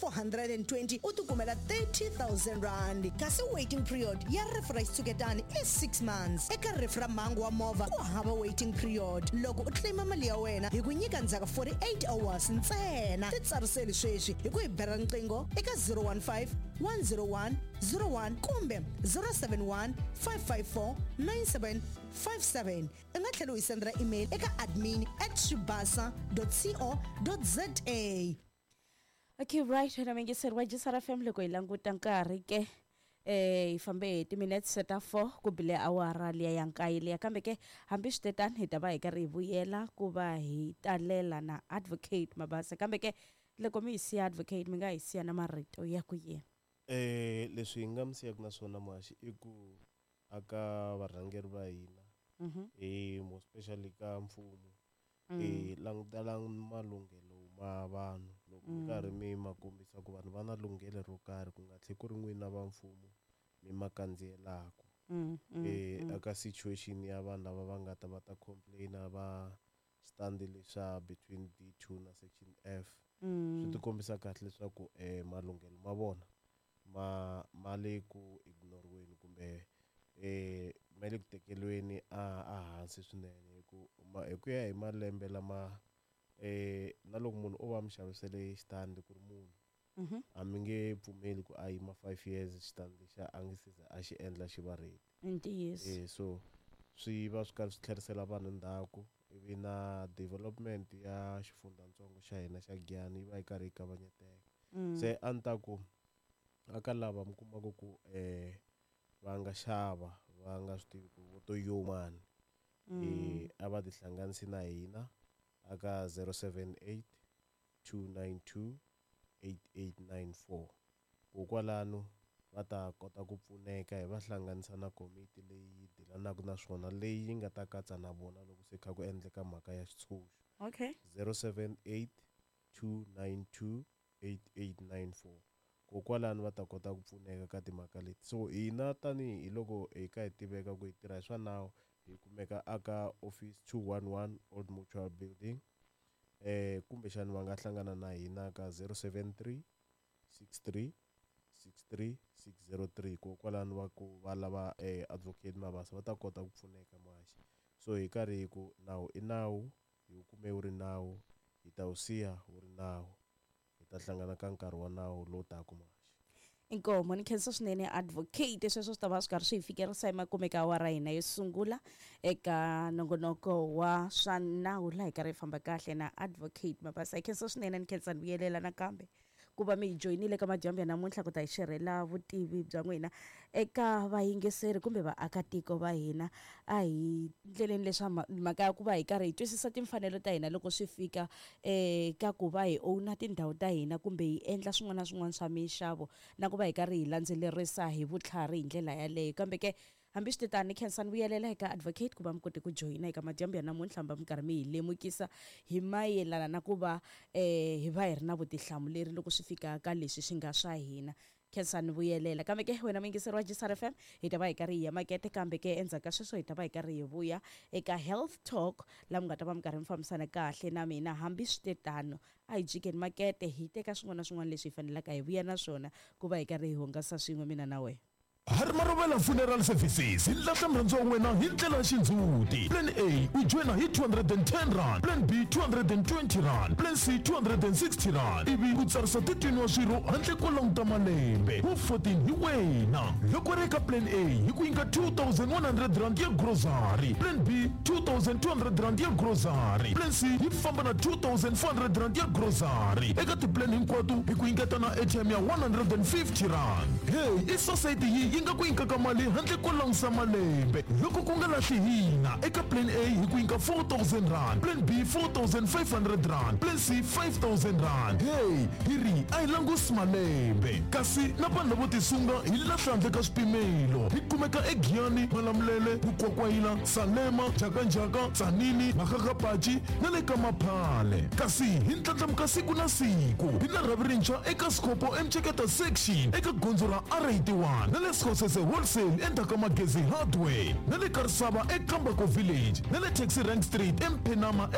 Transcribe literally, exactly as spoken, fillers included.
four hundred and twenty u tikumela thirty thousand rand, kasi waiting period ya rifu ra xitshuketani i six months. Eka rifu ra mhangu wa movha ku hava waiting period. Loko u claima mali ya wena hi ku nyika ndzhaku forty-eight hours ntsena. Titsariseli sweswi hi ku hi bela riqingho eka zero one five one zero one zero one kumbe zero seven one five five four nine seven five seven. U nga tlhela u hi sendela email eka admin at shibasa co za. Okay, right, wena muyingiseri wa J S R F M, loko hi languta nkarhi ke, eh hi fambe hi timinutes ta four ku bile awara liya ya nkaye liya. Kambe ke hambi swi tetani, hi ta va hi karhi hi vuyela ku va hi talela na Advocate Mabasa. Kambe ke loko mi hi siya, Advocate, mi nga hi siya na marito ya ku yini? Eh leswi hi nga mi siyaka na swona, muhaxi, i ku aka varhangeri va hina, Mhm. eh more especially ka mfumo, Mm. eh langutelang malunghelo ma vanhu loko mi karhi mi ma kombisa ku vanhu va na lunghelo ro karhi, ku nga tlhe ku ri n'wina va mfumo mi ma kandziyelaka. Mm, mm, eh mm. Aka situation ya vanhu lava va nga ta va ta complaina va stand leswa between D two na section F, swi Mm. ti kombisa kahle leswaku eh malunghelo ma vona ma ma le ku ignoriweni kumbe eh ma le ku tekeriweni a a hansi swinene, hi ku ma hi ku ya hi malembe lama eh na loko munhu o va mi xavisele xitandi ku ri munhu, Mhm. a mi nge pfumeli ku a yima five years xitandi lexiya a nge se za a xi endla xi va ready. I ntiyiso. eh so swi va swi karhi swi tlherisela vanhu ndzhaku, ivi na development ya xifundzatsongo xa hina xa Giyani yi va yi karhi yi kavanyeteka. Mm. Se a ni ta ku aka lava mi kumaka ku eh va nga xava va nga swi tivi ku vo to yomani, Mm. eh a va tihlanganisi na hina aka zero seven eight two nine two eight eight nine four, kokwalano va ta kota ku pfuneka, hi va hlanganisa na komiti leyi yi dilanaka na swona, leyi yi nga ta katsa na vona loko se kha ku endleka mhaka ya xitshunxo. Okay zero seven eight two nine two eight eight nine four, kokwalano va ta kota ku pfuneka ka timhaka leti. So hina tanihi loko hi ka hi tiveka ku hi tirha hi swa nawu, hi kumeka aka office two one one, Old Mutual Building, eh kumbexani va nga hlangana na hina ka zero seven three six three six three six zero three, kokwalano va ku va lava eh Advocate Mabasa va ta kota ku pfuneka, muhaxi. So hi karhi hi ku nawu i nawu, hi wu kume wu ri nawu, hi ta wu siya wu ri nawu. Hi ta hlangana ka nkarhi wa nawu lowu taka, muhaxi. Inkomo, ni khensa swinene, Advocate. Sweswo swi ta va swi karhi swi hi fikerisa emakume ka awara hina yo sungula eka nongonoko wa swa nawu, laha hi karhi hi famba kahle na Advocate Mabasa. Hi khensa swinene, ni khensa ni vuyelela nakambe ku va mi hi joyinile ka madyambu ya namuntlha ku ta hi xerhela vutivi bya n'wina eka vayingiseri kumbe vaakatiko va hina. A hi ndleleni leswa mhaka ya ku va hi karhi hi twisisa timfanelo ta hina loko swi fika um ka ku va hi owna tindhawu ta hina kumbe hi endla swin'wana na swin'wana swa minxavo, na ku va hi karhi hi landzelerisa hi vutlhari hi ndlela yaleyo. Kambe ke hambi swi tani, khensa ni vuyelela eka Advocate ku va mi kote ku joyina eka madyambu ya namuntlha, va mi karhi mi hi lemukisa hi mayelana na ku va um hi va hi ri na vutihlamuleri loko swi fika ka leswi swi nga swa hina. Khensa ni vuyelela. Kambe ke wena muyingiseri wa J S R F M, hi ta va hi karhi hi ya makete, kambe ke endzhaku ka sweswo hi ta va hi karhi hi vuya eka Health Talk, laha mi nga ta va mi karhi mi fambisana kahle na mina. Hambi swi te tano, a hi jikeni makete, hi teka swin'wana na swin'wana leswi hi fanelaka hi vuya na swona ku va hi karhi hi hungasa swin'we, mina na wena. Harimarovela Funeral Services hi lahla murhandziwa wa wena hi ndlela ya xindzhuti. Plan A, u joyina hi two hundred and ten rand, plan B two hundred and twenty rand, plan C two hundred and sixty rand, ivi u tsarisa thirteen wa swirho handle ko languta malembe wu fourteen hi wena. Loko ri eka plan A, hi ku nyika two thousand one hundred rand ya grocery, plan B two thousand two hundred rand ya grocery, plan C yi famba na two thousand four hundred rand ya grocery. Eka tiplan hinkwato hi ku nyiketa na A T M ya one hundred and fifty rand. Hey, i society yi yi nga ku nyikaka mali handle ko langusa malembe loko ku nga lahli hina. Eka plan A hi ku nyika four thousand rand, plan B four thousand five hundred rand, plan C five thousand rand. Hey, hi ri a hi langusi malembe, kasi na vanhu lavo tisunga hi lahla handle ka swipimelo. Hi kumeka eGiyani, Malamulele, Mukwakwayila, Salema, Jakanjaka, Tsanini, Makgagapaci na le ka Maphale. Kasi hi ndlandlamuka siku na siku, hi na rhavi rintshwa eka Scopo eMceketa section eka gondzo ra R eighty-one, na le Skhosese Wholesale endzhaku ka Magezi Hardware, na le Karisava eKambako Village, na le Taxi Rank Street eMphenama.